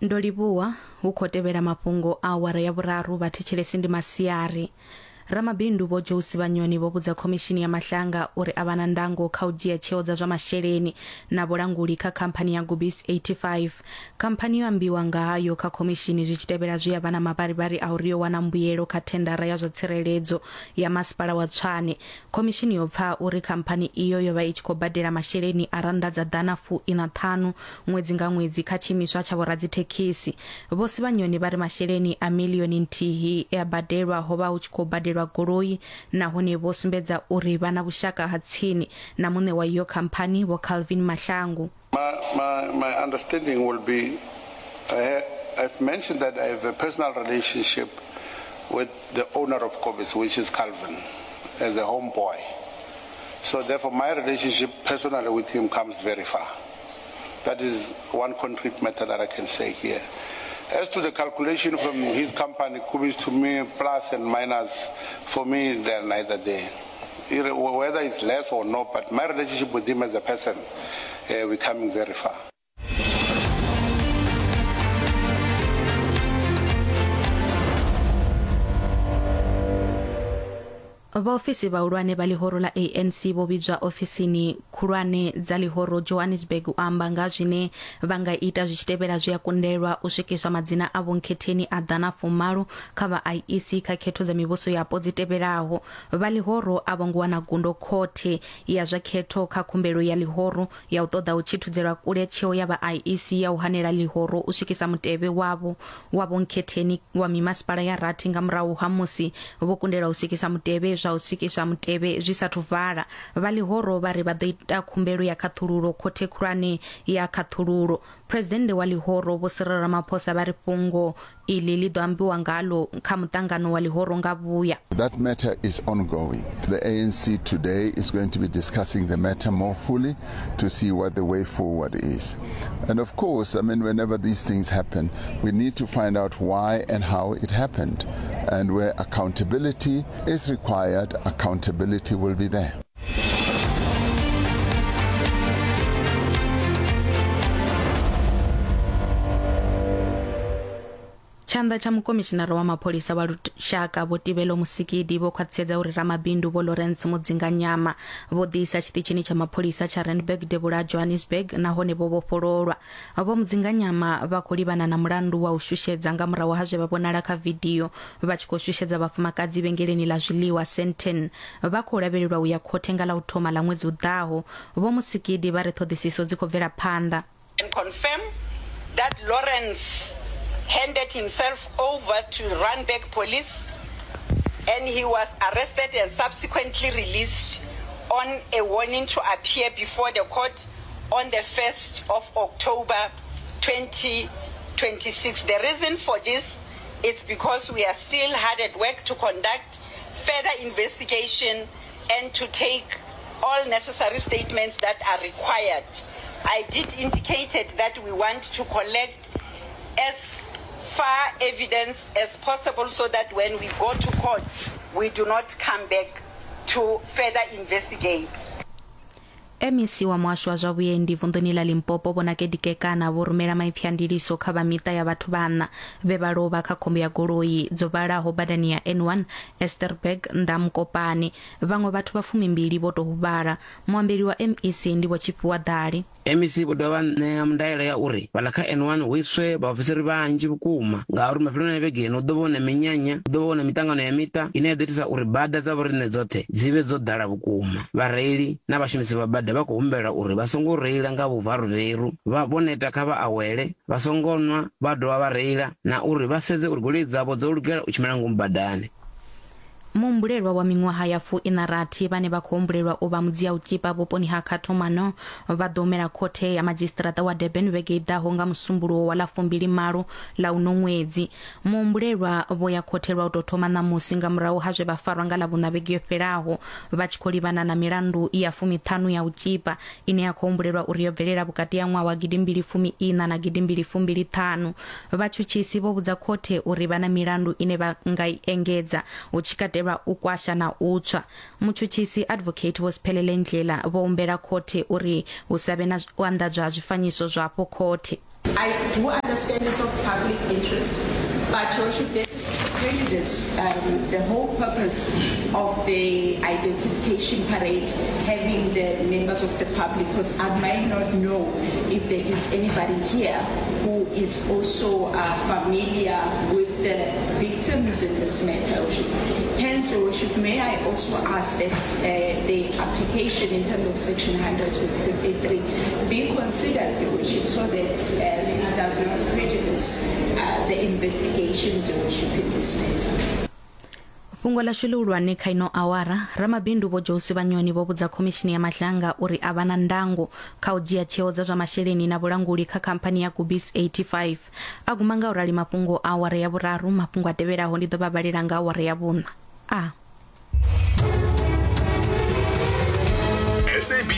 Ndo livhuwa, hu khou tevhela mafhungo a awara ya vhuraru vhathetshelesi ndi masiari. Ramabindu Vho Joe Sibanyoni vho vhudza khomishini ya Mahlanga uri a vha na ndango kha u dzhia tsheo dza zwa masheleni na vhulanguli kha khamphani ya Gubis 85. Khamphani yo ambiwa nga hayo kha khomishini zwi tshi tevhela zwe ya vha na mavharivhari a uri yo wana mbuyelo kha thendara ya zwa tsireledzo ya masipala wa Tshwane. Khomishini yo pfa uri khamphani iyo yo vha i tshi khou badela masheleni a rannda dza ḓana fu iṋa ṱhanu ṅwedzi nga ṅwedzi kha tshiimiswa tsha vhoradzithekisi. Vho Sibanyoni vha ri masheleni a miḽioni nthihi e a badelwa ho vha hu tshi khou badelwa goloi nahone vho sumbedza uri vha na vhushaka ha tsini na muṋe wa iyo khamphani Vho Calvin Mahlangu. My, my, my understanding will be, I, I've mentioned that I have a personal relationship with the owner of Kobis, which is Calvin, as a homeboy. So therefore my relationship personally with him comes very far. That is one concrete matter that I can say here. As to the calculation from his company, Kubis to me, plus and minus, for me, they're neither there. Whether it's less or not, but my relationship with him as a person, uh, we're coming very far. Vhaofisi vhahulwane vha ḽihoro ḽa ANC vho vhidzwa ofisini khulwane dza ḽihoro Johannesburg u amba nga zwine vha nga ita zwi tshi tevhela zwe a kundelwa u swikiswa madzina a vhonkhetheni a ḓana fumalo kha vha IEC kha khetho dza mivhuso yapo dzi tevhelaho. Vha ḽihoro a vho ngo wana gundo khothe ya zwa khetho kha khumbelo ya ḽihoro ya u ṱoḓa u tshithudzelwa kule tsheo ya vha IEC ya u hanela ḽihoro u swikisa mutevhe wavho wa vhonkhetheni wa mimasipala ya rathi nga murahu ha musi vho kundelwa u swikisa mutevhe zwa u swikiswa mutevhe zwi sathu vala. Vha ḽihoro vha ri vha ḓo ita khumbelo ya khaṱhululo khothe khulwane ya khaṱhululo. Phresidennde wa ḽihoro Vho Cyril Ramaphosa vha ri fhungo iḽi ḽi ḓo ambiwa ngaḽo kha muṱangano wa ḽihoro nga vhuya. That matter is ongoing. The ANC today is going to be discussing the matter more fully to see what the way forward is. And of course, I mean, whenever these things happen, we need to find out why and how it happened. And where accountability is required, accountability will be there. Tshanḓa tsha mukomishinara wa mapholisa wa lushaka Vho Tibelo Musikidi vho khwaṱhisedza uri ramabindu Vho Lawrence Mudzinganyama vho ḓiisa tshiṱitshini tsha mapholisa tsha Randburg devhula ha Johannesburg nahone vho vhofhololwa. Vho Mudzinganyama vha khou livhana na mulandu wa u shushedza nga murahu ha zwe vha vhonala kha vidio vha tshi khou shushedza vhafumakadzi vhengeleni ḽa zwiḽiwa Sandton. Vha khou lavhelelwa u ya khothe nga ḽa u thoma ḽa ṅwedzi u ḓaho. Vho Musikidi vha ri ṱhoḓisiso dzi khou bvela phanḓa. Can confirm that Lawrence handed himself over to Randburg police and he was arrested and subsequently released on a warning to appear before the court on the 1st of October 2026. The reason for this is because we are still hard at work to conduct further investigation and to take all necessary statements that are required. I did indicate that we want to collect as far evidence as possible so that when we go to court, we do not come back to further investigate. MEC wa muhasho wa zwa vhuendi vunḓuni ḽa Limpopo Vho Nakedi Kekana vho rumela maipfi a ndiliso kha vha miṱa ya vhathu vhaṋa vhe vha lovha kha khombo ya goloi dzo vhalaho badani ya N1 Esterberg nnḓa Mokopane. Vhaṅwe vhathu vha fumimbili vho tou huvhala. Muambeli wa MEC ndi Vho Tshifhiwa Ḓali. MEC vho dovha vha ṋea ndaela ya uri fhaḽa kha N1 hu iswe vhaofisiri vhanzhi vhukuma ngauri mafheloni a vhege ino hu ḓo vha hu na minyanya, hu ḓo vha hu na miṱangano ya miṱa ine ya ḓo itisa uri bada dza vhoriṋe dzoṱhe dzi vhe dzo ḓala vhukuma. Vhareili na vhashumisi vha bada vha khou humbelwa uri vha songo reila nga vhuvaruveru, vha vho neta kha vha awele, vha songo nwa vha dovha vha reila na uri vha sedze uri goloi dzavho dzo lugela u tshimbila ngomu badani. Muhumbulelwa wa miṅwaha ya fu-iṋa-rathi vhane vha khou humbulelwa u vha mudzia-u-tshipa vhuponi ha Cato Manor vha ḓo humela khothe ya madzhisiṱiraṱa wa Durban vhege i ḓaho nga Musumbuluwo wa ḽa 20 ḽa uno ṅwedzi. Muhumbulelwa vho ya khothe lwa u tou thoma ṋamusi nga murahu ha zwe vha farwa nga Ḽavhuṋa vhege yo fhelaho vha tshi khou livhana na milandu ya fumiṱhanu ya u tshipa ine ya khou humbulelwa uri yo bvelela vhukati ha ṅwaha wa gidimbili fumi iṋa na gidimbili fumbili ṱhanu. Vhatshutshisi vho vhudza khothe uri vha na milandu ine vha nga i engedza, hu tshi katelwa u kwasha na u tswa. Mutshutshisi Advocate Vho Siphelele Ndlela vho humbela khothe uri hu sa vhe na u anḓadzwa ha zwifanyiso zwa afho khothe. I do understand it's of public interest, but Your Worship, there is prejudice um, the whole purpose of the identification parade having the members of the public, because I might not know if there is anybody here who is also uh, familiar with the victims in this matter. Hence, Your Worship, may I also ask that uh, the application in terms of Section 153 be considered, Your Worship, so that um, it does not prejudice uh, the investigations, Your Worship, in this matter. Fhungo ḽashu ḽihulwane kha ino awara, ramabindu Vho Joe Sibanyoni vho vhudza khomishini ya Madlanga uri a vha na ndango kha u dzhia tsheo dza zwa masheleni na vhulanguli kha khamphani ya Gubis 85. A guma nga u rali mafhungo a awara ya vhuraru, mafhungo a tevhelaho ndi ḓo vha vhalela nga awara ya vhuṋa. A. SABC.